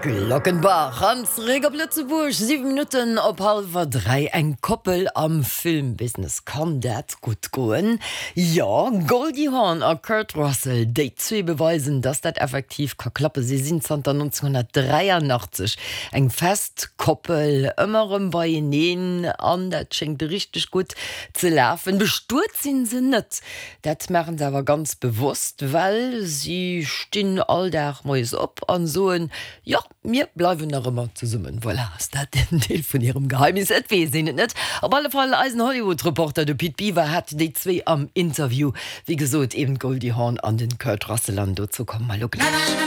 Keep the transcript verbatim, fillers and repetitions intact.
Glockenbach an zeréck op Lëtzebuerg siwe Minutten op hallwer dräi eng Koppel am Filmbusiness kann dat gutt goen? Jo Goldie Hawn a Kurt Russell déi zwee beweisen dass dat effektiv ka klappen si sinn zanter nonzénghonnertdräianachtzeg eng fest Koppel ëmmer erëm beieneen an dat schéngt richteg gutt ze lafen bestuet sinn se net dat maachen se awer ganz bewosst well si stinn all Dag moies op an soen jo mir bleiwen nach ëmmer zesummen. Voilà, ass dat en Deel vun hirem Geheimnis? Et weess een et net. Op alle Fall eisen Hollywood-Reporter de Pit Biwer hat déi zwee am Interview. Wéi gesot eben d'Goldie Hawn an den Kurt Russell an dozou komme mer elo gläich.